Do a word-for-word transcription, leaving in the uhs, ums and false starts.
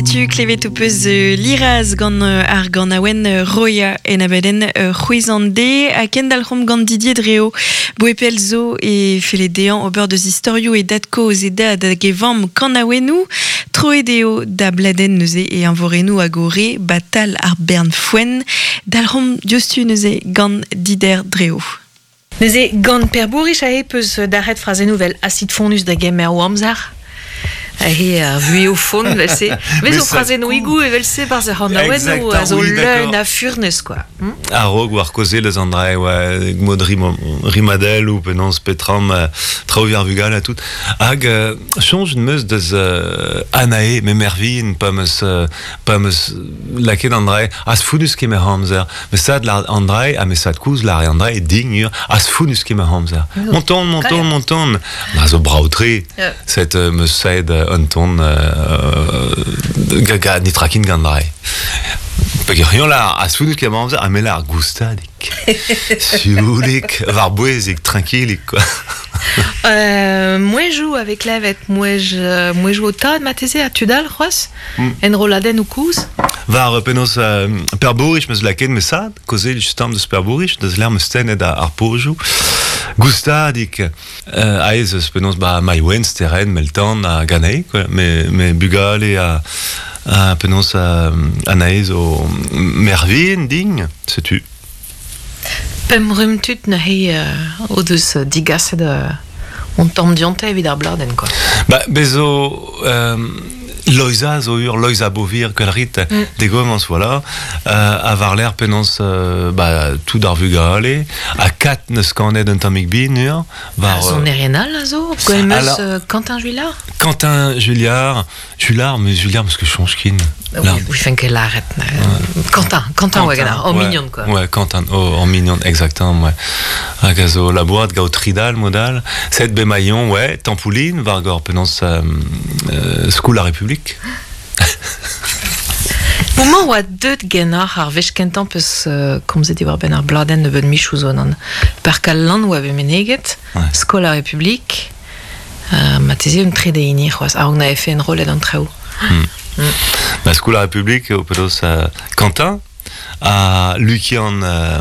Setu klevet o peus euh, liraz gant euh, ar gant aouen euh, roia en abadenn euh, c'hwezan de a kendalc'homp gant Didier Dreo boepel zo e fele dean ober deus istorioù e datko e dad hag e vamm kanaouennoù troet eo da bladenn neuze e anvorennoù hag o re batal ar bern foenn dalc'homp diouzhtu neuze gant Dider Dreo. Neuze gant Per Bourich a peus d'arret frazennoù vel acid fonus da gemer o amzer. He ar vui o fond, vel se. Vez o frazennoù igou evel se barz ar c'hanaouennoù a zo leun a furnez, quoi. Hmm? A rog war koze leus an drae, ouais, mod rim, rimadel ou penans petram, euh, traoù ar vugal a tout. Hag, euh, chonj meus deus euh, anae, me mervin, pa meus, euh, pa meus laket an drae, as founus ket me hamzer. Me sad la an drae, ha me sad kouz la an drae, dign ur, as founus ket me hamzer. Monton, monton, monton. Na zo brao-tre, Yeah. set euh, meus saet euh, un ton euh, gaga nitrakin gant drae. Peg rion la as founus ket me hamzer, ha me la ar goustadik. Sioulik, war bouezik, tranquillik, quoi. Euh, moi joue avec levet, moi je, moi joue au tad mateze a tudal c'hoaz, Mm. en roladen ou kouz. War euh, penaos euh, per bourrich meus laket me sad, koze justam deus per bourrich, deus l'air meus tennet ar, ar pojou. Goustadik, euh, aez eus penaos ba maïwen, steren, meltan a ganei, quoi, me, me bugale a, a penaos a, anaez o mervin ding, setu. Pem rum tut na he euh, o deus euh, digaset euh, on tamm dionte evit ar bladenn, quoi. Ba, bezo euh, Loiza zo ur, Loiza Bovir, kelrit, mm. degomans, voilà, euh, a war l'air penaos euh, ba, tout ar vugale, a kat neus kanet un tammig bin, ur, war, A zon euh, erienal a zo, gwell meus Alors- euh, Quentin Juillard. Quentin Julliard, Julliard, mais Julliard, parce que change kin. Oui, oui, fin ket laret. euh, Quentin, Quentin, ouais, gana, en ouais. mignon, quoi. Ouais, Quentin, oh, en mignon, exactement, ouais. Hag a zo la boîte, gao tridal, modal, set bemaillon, ouais, tampouline, war gor penaos euh, euh, skoul la République. Moment oa deut genoc'h ar wech kentan peus euh, komzet diwar ben ar bladenn nebeud michou zo nan. Per kal lan oa bet meneget, Ouais. skol ar Republik, euh, ma teze un trede hini c'hoaz, a na efe en rolet an traoù. Ba, skoul la République, o penaos euh, Quentin, a Lukian euh,